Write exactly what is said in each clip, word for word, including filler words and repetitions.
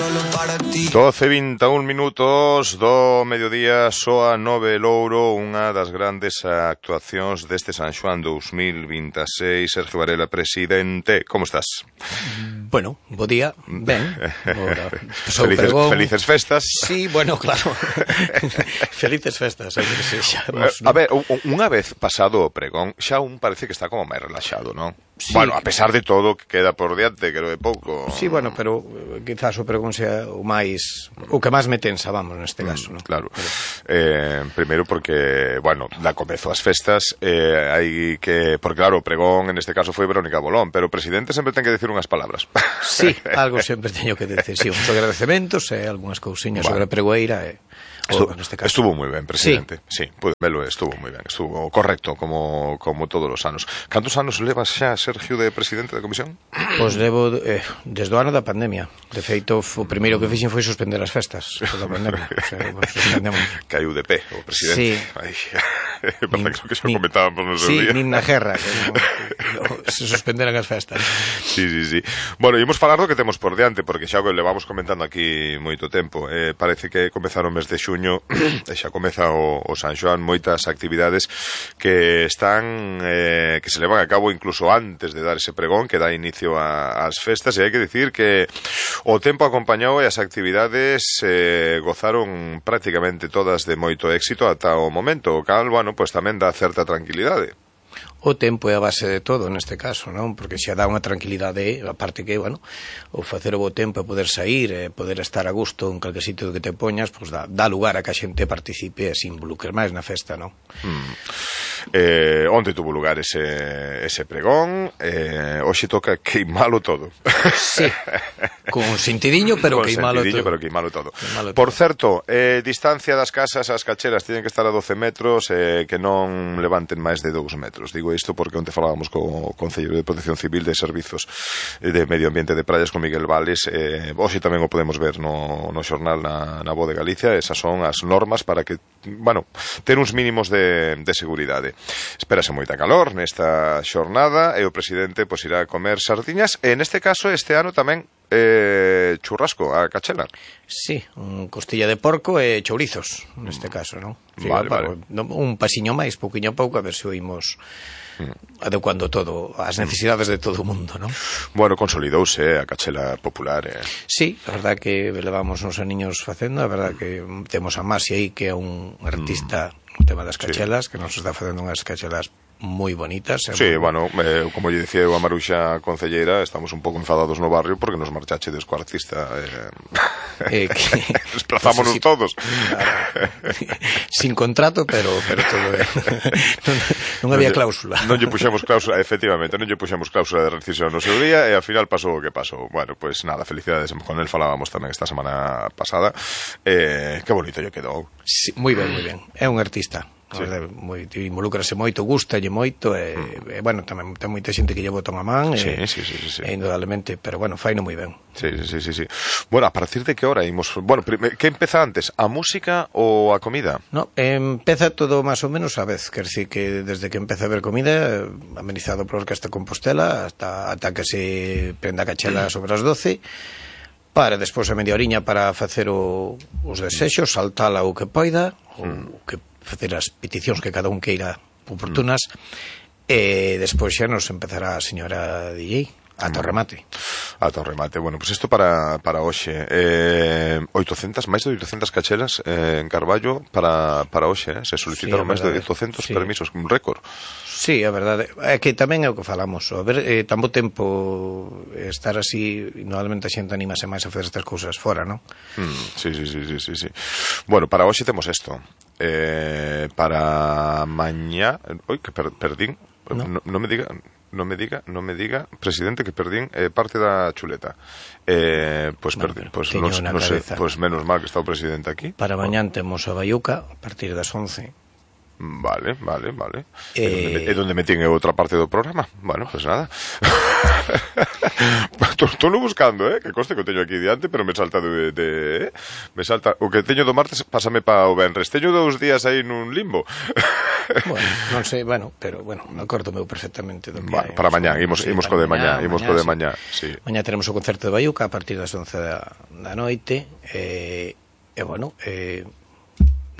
solo para ti. doce e vinte e un minutos do mediodía, soa Nove Louro, unha das grandes actuacións deste San Xoán dous mil vinte e seis. Sergio Varela, presidente, como estás? Bueno, bo día, ben. Felices, felices festas. Sí, bueno, claro. Felices festas, hai que sexamos, A ver, unha vez pasado o pregón, xa un parece que está como máis relaxado, non? Sí, bueno, a pesar de todo que queda por diante, que é pouco. Sí, bueno, pero quizás o pregón sea o máis o que máis me tensa, vamos, neste caso, mm, ¿no? Claro. Pero... Eh, primeiro porque, bueno, da comezo as festas, eh, hai que, porque claro, o pregón en este caso foi Verónica Bolón, pero o presidente sempre ten que decir unhas palabras. Sí, algo sempre teño que decir, sí, uns agradecementos e algunhas cousiñas bueno. sobre a pregoeira e Estuvo, neste caso. Estuvo moi ben, presidente. Sí, sí, pude velo, estuvo moi ben, estuvo correcto como como todos os anos. Cantos anos levas xa, Sergio, de presidente da comisión? Pois levo eh, desde o ano da pandemia. De feito, o primeiro que fixen foi suspender as festas da pandemia. O sea, bueno, suspendemos. Caiu de pé o presidente. Sí. Ai, é verdad que xa comentábamos no seu sí, día. Sí, nin na guerra que no, no, se suspenderan as festas. Sí, sí, sí. Bueno, imos falar do que temos por diante, porque xa o levamos comentando aquí moito tempo. Eh, parece que comezaron o mes de xuño e xa comeza o, o San Xoán, moitas actividades que están eh, que se levan a cabo incluso antes de dar ese pregón que dá inicio a, ás festas, e hai que dicir que o tempo acompañou e as actividades eh, gozaron prácticamente todas de moito éxito ata o momento, o cal, bueno, pois tamén dá certa tranquilidade. O tempo é a base de todo neste caso, non? Porque xa dá unha tranquilidade, aparte que, bueno, o facer o bo tempo e poder sair e poder estar a gusto en calquer sitio que te poñas, pois dá, dá lugar a que a xente participe e se involucre máis na festa, non? Hmm. Eh, onde tuvo lugar ese, ese pregón, eh, hoxe toca queimalo todo. Sí, con sentidiño, pero con queimalo sentidiño, todo. pero queimalo todo. Queimalo Por todo. certo, eh, distancia das casas ás cachelas tienen que estar a doce metros, eh, que non levanten máis de dous metros. Digo isto porque onte falábamos co Concelleiro de Protección Civil de Servizos de Medio Ambiente de Praias con Miguel Vales, eh, hoxe tamén o podemos ver no, no xornal na, na Voz de Galicia. Esas son as normas para que, bueno, ter uns mínimos de, de seguridade. Espérase moita calor nesta xornada e o presidente pois irá a comer sardiñas e neste caso este ano tamén eh, churrasco a cachela. Sí, un costilla de porco e chourizos neste caso, non? Sí, vale, para, vale. Un pasiño máis, pouquiño a pouco, a ver se oímos mm. adecuando todo as necesidades de todo o mundo, non? Bueno, consolidouse a cachela popular. Eh. Sí, a verdad que levamos uns aniños facendo, a verdad que temos a Masi aí, que é un artista mm. no tema das cachelas, sí. que nos está facendo unhas cachelas moi bonitas. Sí, muy... bueno, eh, como lle dicía eu a Maruxa Concelleira, estamos un pouco enfadados no barrio porque nos marchachedes co artista. Eh, eh, que... Desplazámonos sí, todos. Claro. Sin contrato, pero pero todo é... non, non había cláusula. Non lle puxemos cláusula, efectivamente, non lle puxemos cláusula de rescisión no seu día e ao final pasou o que pasou. Bueno, pois pues, nada, felicidades, con el falábamos tamén esta semana pasada. Eh, que bonito lle quedou. Sí, moi ben, moi ben. É un artista. Sí. Moi, involúcrase moito, gustalle moito e, mm. e bueno, tamén ten moita xente que lle bota unha man sí, e, sí, sí, sí, sí. e indudablemente, pero bueno, faino moi ben. Sí, sí, sí, sí. Bueno, a partir de que hora imos? Bueno, que empeza antes, a música ou a comida? No, empeza todo máis ou menos a vez, quer decir que desde que empeza a haber comida, amenizado por Orquesta Compostela hasta ata que se prenda a cachela mm. sobre as doce, para despois a media oriña para facer o, os desexos, saltala o que poida, mm. o que facer as peticións que cada un queira oportunas, mm. e despois xa nos empezará a señora D J ata o remate. Ata o remate. Bueno, pois pues isto para, para hoxe. Eh, oitocentas, máis de oitocentas cachelas eh, en Carballo para, para hoxe. Eh? Se solicitaron sí, máis de oitocentos sí. permisos, un récord. Sí, a verdade. É que tamén é o que falamos. A ver, eh, tan bo tempo estar así, normalmente a xente animase máis a fazer estas cousas fora, non? Mm, sí, sí, sí, sí, sí, sí. Bueno, para hoxe temos isto. Eh, para mañá... Oi, que per, perdín. No. No, no me diga... non me diga, non me diga, presidente, que perdín eh, parte da chuleta. Eh, pois pues, no, pues, no, no sé, pues menos mal que está o presidente aquí. Para mañán temos a Baiuca a partir das once. Vale, vale, vale. Eh... É onde metín outra parte do programa. Bueno, pues nada. Estou buscando, eh, que coste que o teño aquí diante, pero me salta de, de eh? me salta o que teño do martes, pásame pa o venres. Teño dous días aí nun limbo. Bueno, non sei, bueno, pero bueno, acordo meu perfectamente do que bueno, hai. para mañá, imos, sí, imos co de mañá, imos co de mañá, sí. Mañá teremos o concerto de Baiuca a partir das once da, da noite, e, e bueno, eh,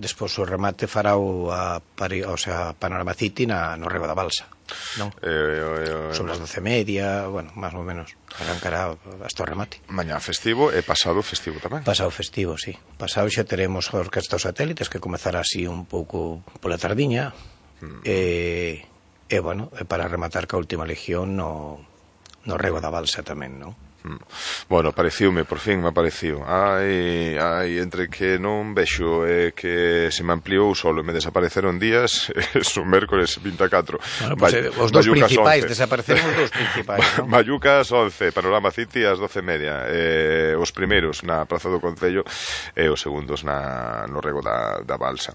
despois o remate fará o a, o sea, Panorama City na, no Rego da Balsa, non? Eh, eh, eh, sobre as doce e media, bueno, máis ou menos arrancará hasta o remate. Mañá festivo e pasado festivo tamén. Pasado festivo, sí. Pasado xa teremos a Orquesta dos Satélites, que comezará así un pouco pola tardiña, mm. e, e bueno, e para rematar ca última legión no, no Rego da Balsa tamén, non? Bueno, pareciume, por fin me apareciu. Ai, ai, entre que non vexo e que se me ampliou o solo e me desapareceron días, es un mércoles vinte e catro. Bueno, pues, eh, os dos principais, desapareceron os dos principais, non? Bayucas once, Panorama City ás doce e media. Eh, os primeiros na Praza do Concello e os segundos na, no Rego da, da Balsa.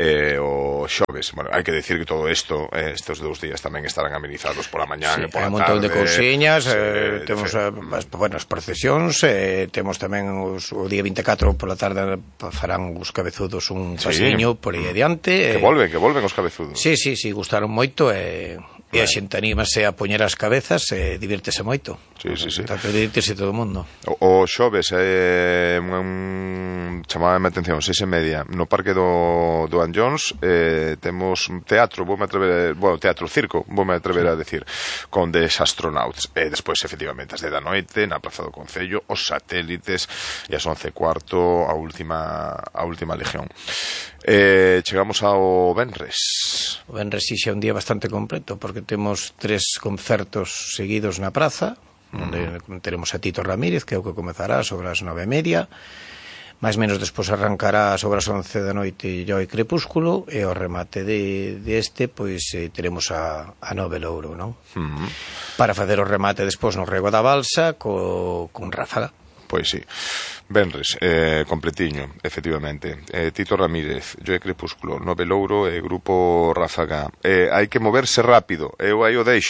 Eh, o xoves, bueno, hai que decir que todo isto, eh, estes dous días tamén estarán amenizados pola mañá sí, e pola tarde. Hai un montón de cousiñas, sí, eh, temos a, bueno, as procesións, eh, temos tamén os, o día vinte e catro pola tarde farán os cabezudos un paseño sí, por aí adiante. Que volven, que volven os cabezudos. Sí, sí, sí, gustaron moito e, e a xente anímase a poñer as cabezas e divírtese moito. Sí, sí, sí. Tanto divírtese todo o mundo. O, o xoves é eh, un, chamaba a atención, seis e media no Parque do, do Anllóns, eh, temos teatro, voume atrever, bueno, teatro, circo, voume atrever a decir, con des astronauts, e despois efectivamente as de da noite na Praza do Concello, os satélites, e as once e cuarto a última a última legión. Eh, chegamos ao venres. O venres sí xa un día bastante completo, porque temos tres concertos seguidos na praza, onde mm. teremos a Tito Ramírez, que é o que comezará sobre as nove e media, máis menos despois arrancará sobre as once da noite Lloi Crepúsculo, e o remate de, de este, pois eh, teremos a, a Nove Louro, non? Mm. Para facer o remate despois no Rego da Balsa co, con Ráfaga. Pois sí. Venres, eh, completiño, efectivamente. Eh, Tito Ramírez, Lloi Crepúsculo, Nove Louro e Grupo Ráfaga. Eh, hai que moverse rápido, eu aí o deixo.